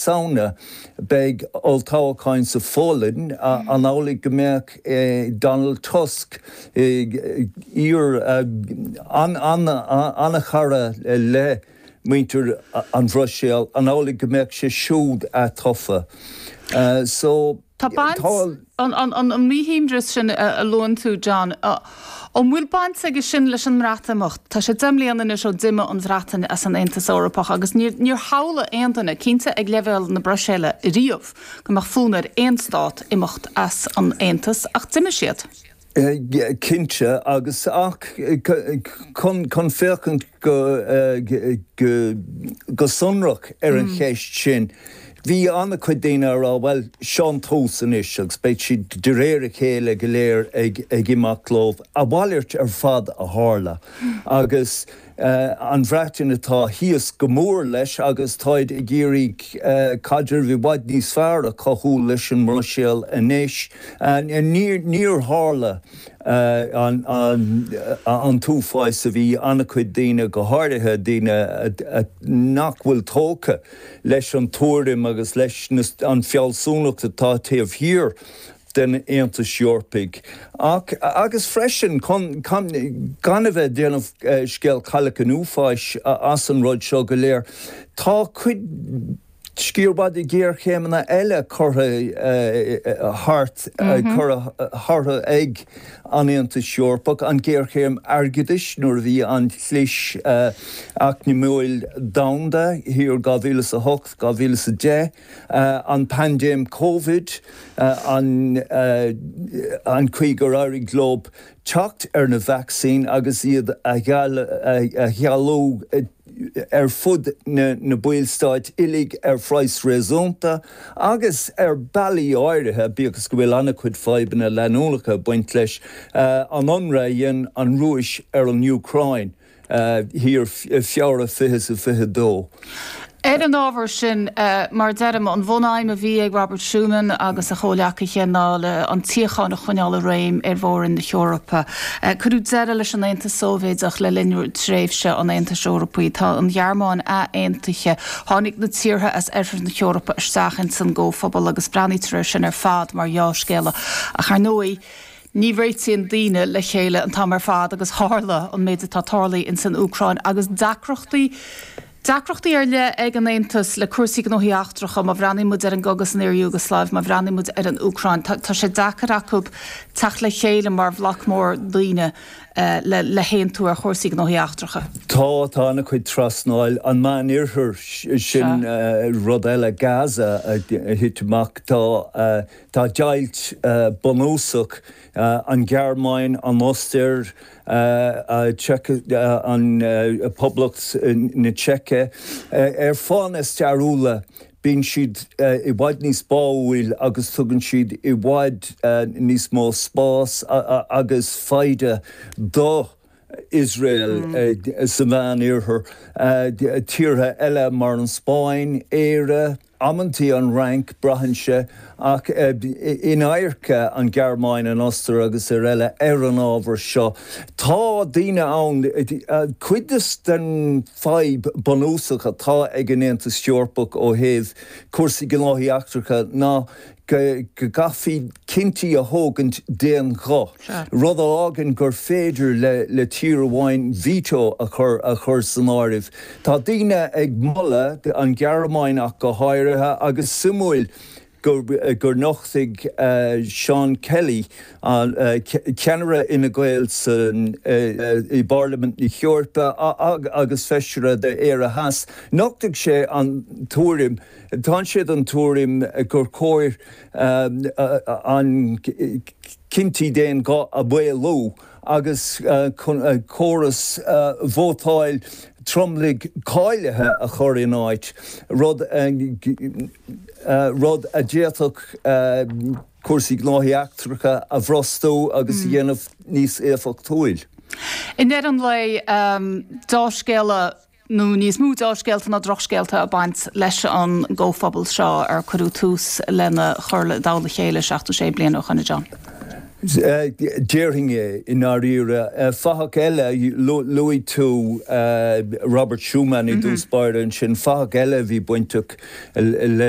Samhna, beidh olltoghcháin sa Pholainn. An amhlaidh go mbeadh Donald Tusk, iar an-chara le muintir an Bhruiséil, an amhlaidh go mbeadh sé siúd atofa? So. Tá baint, an míshuaimhneas sin a luann tú, John, an bhfuil baint aige sin leis an mBreatimeacht? Tá sé 10 mbliana anois ó d'imigh an Bhreatain as an Aontas Eorpach agus níor shamhlaigh aon duine, cinnte ag leibhéal na Bruiséile, riamh go mbeadh fonn ar aon stát imeacht as an Aontas ach d'imigh siad. Cinnte, agus ach chun féachaint go sonrach ar an cheist sin, bhí an-chuid daoine ag rá, bhuel, seo an tús anois agus beidh siad de réir a chéile go léir ag imeacht leo. A mhalairt ar fad a tharla agus an Bhreatain atá thíos go mór leis agus táid ag iarraidh caidreamh i bhfad níos fearr a chothú leis an mBruiséil anois. Níor tharla an t-uafás a bhí an-chuid daoine, go háirithe daoine nach bhfuil tógtha leis an tuairim agus leis an fealsúnacht atá taobh thiar den Aontas Eorpaigh ach, agus freisin, chun gan a bheith ag déanamh scéal Cailleach an Uafáis as an rud seo go léir, tá cuid, sciar mhaith de ghéarchéimeanna eile curtha thart, curtha orthu ag an Aontas Eorpach, an ghéarchéim airgeadais nuair a bhí an chlis eacnamaíoch domhanda thiar 2008, 2010. an paindéim Covid, an chaoi gur éirigh leo teacht ar na vacsaíní agus iad a chealú ar fud na ballstáit uilig ar phraghas réasúnta agus ar bealaí áirithe, bíodh is go bhfuil an-chuid fadhbanna leanúnacha ag baint leis, an ionradh a dhein an Rúis ar an Úcráin. thiar i Feabhra 2022. Ar an ábhar sin, mar a deirim, an bhun-aidhm a bhí ag Robert Schuman agus a chomhleacaithe ná le an tsíocháin a choinneáil i réim ar mhór-roinn na hEorpa. Cuireadh deireadh leis an Aontas Sóivéadach le linn tréimhse an Aontais Eorpaigh. Tá an Ghearmáin ath-aontaithe. Tháinig na tíortha as Oirthear na hEorpa isteach ins an gComhphobal agus breathnaítear air sin ar fad mar dheá-scéala. Ach ar ndóigh, Ní réitíonn daoine le chéile an t-am ar fad agus tharla an méid atá tarlaithe ins an Úcráin agus deacrachtaí, deacrachtaí ar leith ag an Aontas le cúrsaí gnóthaí eachtracha, má bhreathnaíonn muid ar an gcogadh san iar-Iúgasláiv, má bhreathnaíonn muid ar an Úcráin, tá, tá sé deacair acu teacht le chéile mar bhloc mór daoine le, le haontú ar chúrsaí gnóthaí eachtracha. Tá, tá an-chuid trasnáil, an Meánoirthear, sin rud eile, Gaza a thit amach, tá, Tá deighilt bunúsach, an Ghearmáin, an Ostair, an Poblacht na Seice, ar fáthanna stairiúla bíonn siad i bhfad níos báúil agus tugann siad i bhfad níos mó spás agus foighde do Iosrael sa Mheán-Oirthear, tíortha eile mar an Spáinn, Éire, amantaí an Fhrainc, braitheann sé, ach in adharca an Ghearmáin, an Ostair agus ar eile ar an ábhar seo. Tá daoine ann, cuid den fadhb bunúsach atá ag an Aontas Eorpach ó thaobh cúrsaí gnóthaí eachtracha ná go gcaithfí cinntí a thógaint d'aon ghuth, rud a fhágann gur féidir le tír amháin veto a chur a chur san áireamh. Tá daoine ag moladh, an Ghearmáin ach go háirithe, agus suimiúil gur nochtaigh Seán Kelly, ceannaire Fhine Gael i bParlaimint na hEorpa agus feisire d'Éire Theas, nochtaigh sé an tuairim, Tá sé den tuairim gur chóir an cinntí d'aon ghuth a mhaolú agus córas vótáil tromlaigh cáilithe a chur in áit, rud rud a d'fhéadfadh cúrsaí gnóthaí eachtracha a bhrostú agus a dhéanamh níos éifeachtúil. I ndeireadh an lae, deá-scéala nó níos mó deá-scéalta ná drochscéalta ag baint leis an gcomhphobal seo ar cuireadh tús lena chur i dtoll a chéile 76 bliain ó shoin, a John. Déarfainn é, i ndáiríre. Fathach eile, luaigh tú Robert Schuman i dtús báire ansin, fathach eile a bhí bainteach le.